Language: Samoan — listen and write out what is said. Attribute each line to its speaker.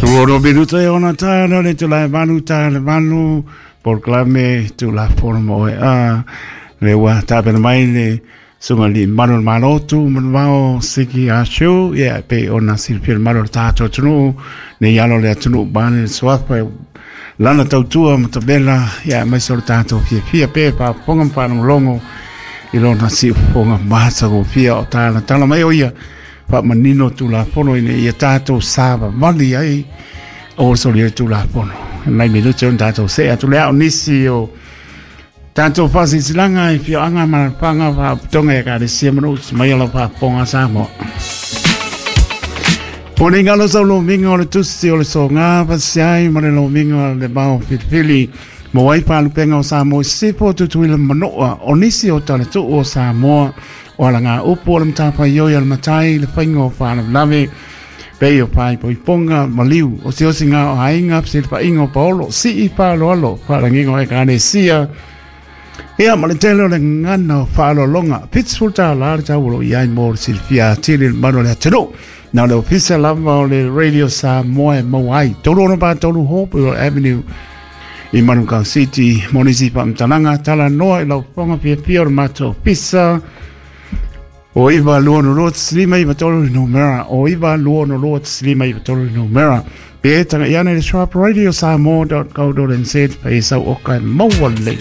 Speaker 1: Suono minuta e ona tāna le tula e manu tā le manu polokalame Tulafono mo oe a le ua tapena mai le suga li manu le malo tu manuvao siki asu ia pe ona silafia le manu o le tatou atunuu nei alo le atunuu bane le suafa lana tautua ma tavela ia aemaise o le tatou fiafia pe faafofoga ma faalogologo i lona siufofoga matagofie o talatala mai o ia faamanino Tulafono ina ia tatou savavali ai o solia le Tulafono. Nai minute ona tatou see atu lea o nisi o tatou faasilasilaga i afioaga ma alaalafaga faalapotopotoga i Ekalesia ma nuu mai o lau faafofoga Samoa. O nei galo sau lomiga o le tusi o le soga fasiai ma le lomiga o le vao filifili mo ai faalupega o Samoa i Sisifo, Tutuila ma Manua o nisi o talatuu o Samoa o alaga upu o le matafaioi a le matai le faiga o faalavelave pei o faaipoipoga maliu osiosiga o aiga fesilafaiga o paolo sii faaaloalo faalagiga o ekalesia ia ma le tele o le gagana o faaaloaloga. $70 le tau o lo o i ai mo le silafia atili i le mamalu o le atunuu. Na o le ofisa lava o le Radio Samoa e maua ai. 363 Hopewell Avenue i Manukau City. Mo nisi faamatalaga, talanoa i lau fofoga fiafia o le matou ofisa. O 9 2 6 5 9 3 numera. O 9 2 6 5 9 3 numera. Pe taga i ane le sharp radio samoa.co.nz pe sau oka e maua lelei.